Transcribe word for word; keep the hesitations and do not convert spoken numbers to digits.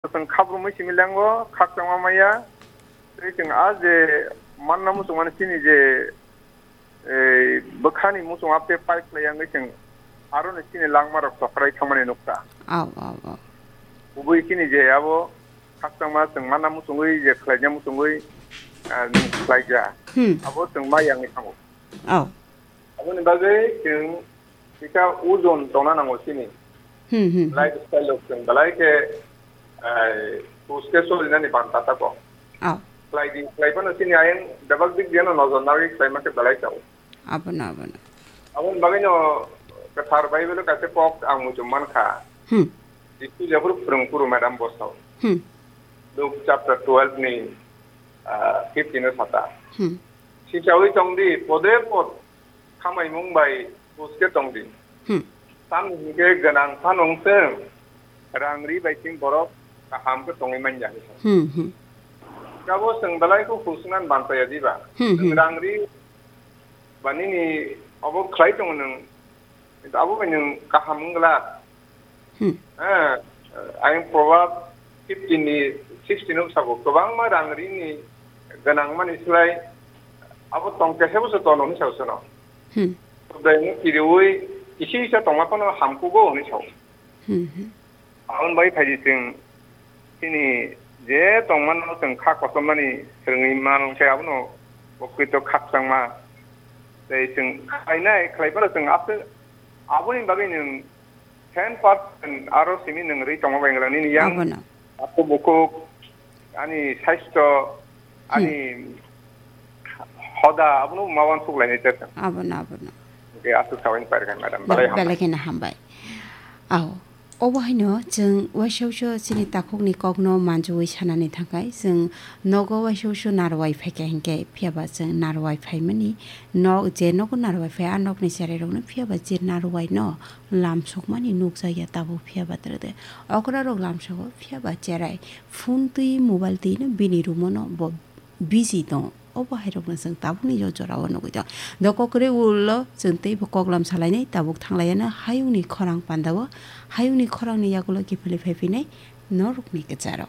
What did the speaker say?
Chwng khabrumwi simi lengo, khakchangma maya. Tei chwng a je manna muchungmani chini je, eh, bwkhani muchung apte pipe khlai wngwi chwng aroni chini langmarok chokrai thangmani nukha. Au, au, au. Kubui chini je abo khakchangma chwng manna muchungwi je khlaina muchungwi, ah, khlaija. Hmm. Abo chwng maya wngwi thango. Au. Aboni bagwi chwng kisa ojon tongna nango chini. Hmm, hmm, hmm. Lifestyle rok chwng belai khe, eh, sus khe solinani banta tako. Oh. Khlai di, khlai phano chini ayang bebak dik diano nojor nagwi khlaima khe belai chao. Abono, abono. Aboni bagwino kwthar Bible o kaisa kok ang muchung mankha. Hmm. Jisu jephuru phwrwng phuru madam bosao. Hmm. Luke chapter twelve ni, ah, fifteen o sata. Hmm. Sichawi tongdi, pode pod khamai mung bai buske tongdi. Hmm. Tamni hingke gwnang phano wng chwng rang ri bai chwng borok kaham khe tongwi manya hinwi sa. Hmm, hmm. Kabo chwng belai kho husnan bantaya diba? Hmm, hmm. Rang ri ba nini obo khlai tongo nwng, kintu abo bai nwng kaham wng glak. Hmm. Eh, ayang Proverb fifteen ni sixteen o sabo, kwbangma rang rini gwnang mani slai abo tong kesa bo se tono hinwi sao sono. Hmm. Budai no kiriwi kisi kisa tongma phano hamkugo hinwi sao. Hmm, hmm. Aboni bai phaidi chwng chini je tongmano chwng kha kochomnani swrwngwi mano khe abono bokhwito khakchangma. Tei chwng khlainai, khlai phano chwng aswk aboni bagwi nwng ten percent aro simi nwng rwi tongma bai wngla nini yang. Abono. Ako bukhuk, ani saisto, hmm, ani hoda, abono ma uansuk lainai te. Abono, abono. Hingke aswk sawi pairkha, madam. Belai hambai. Belai kheno hambai. Ao. Obo haino chwng uaisa uaisa chini takhukni kokno manjui sanani thangkhai, chwng nogo uaisa uaisa narwai phaikha hinkhe, phiyaba chwng narwai phaimani nok, je nogo narwai phai, a nokni cherairokno phiyaba je narwai no lamsokmani nukjakya tabuk phiyaba twrwde. Okrarok lamsogo phiyaba cherai phone twi mobile twi no bini room-o no bo busy tongo. Obo hairokno chwng tabukni o jorao nugwi tongo. Doko kwrwi ulo chwng teibo koklam salainai tabuk thanglaiano hayungni khorang pandao, hayungni khorangni yagulo kiphilwi phaiphinai norokni kwcharo.